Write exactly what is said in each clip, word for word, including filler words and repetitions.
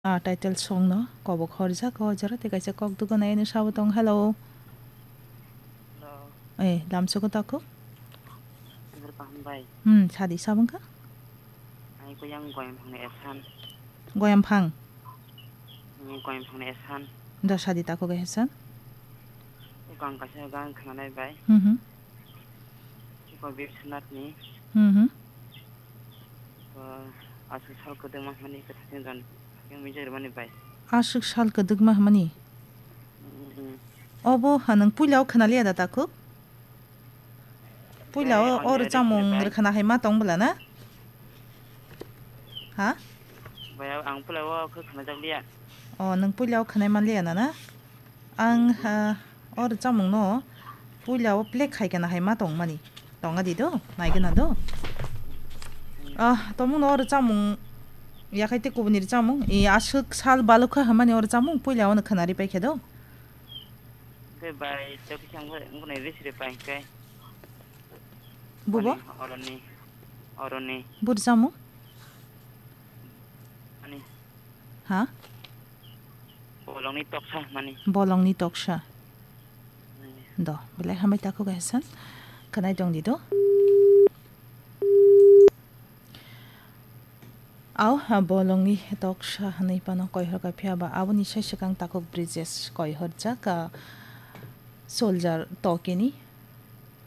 Ah, title song no kobok horjak o jora tei kaisa kok dugo nai ani sabo tong. Hello. Hello. Eh, lamsogo takhuk. Sundar Bahan bai. Hmm, sadi sabung kha? Ai ko yang goyam phang ni esan. Goyam phang? Hmm, goyam phang ni esan. Da sadi takhuk esan. Ko ang kaisa gang khna nai bai. Hmm, hmm. Ko Biswanath ni. Hmm, hmm. Ko aswk sal kwdwkma hwnmani kwthang jon yang mijai rwmani bai. Aswk sal kwdwkma hwnmani? Mm, mm. Obo ha nwng puila o khna liya da takhuk? Puila o, eh, o rwchapmung rwkhana hai ma tong bwla na? Ha? Bai, ang puila o khe khna jak liya. O, nwng puila o khna man liya na na? Ang, ha, o rwchapmung no puila o play khai kana hai ma tong mani. Tong adi do, nai gana do. Ah, tomung no o rwchapmung yakhai te kubuni rwchapmung. I aswk sal balukha hwnmani o rwchapmung puila o no khna ri pai khe do. Khe bai, to kisa ang bo, ang bo nai risi ri pai khe. Bubo? Ani, oroni, oroni. Bu rwchapmung? Ani. Ha? Bolongni toksa mani. Bolongni toksa. Hmm. Do, belai hambai takhuk esan. Khwnai tong di do. Au, ha, bolongni toksa hwnwi phano koihor kha phiya ba aboni sai swkang takhuk Brijesh koihorjak, ah, Soldier Tokeni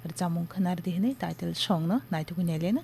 rwchapmung khwnar di hwnwi title song no naithogwi naileno.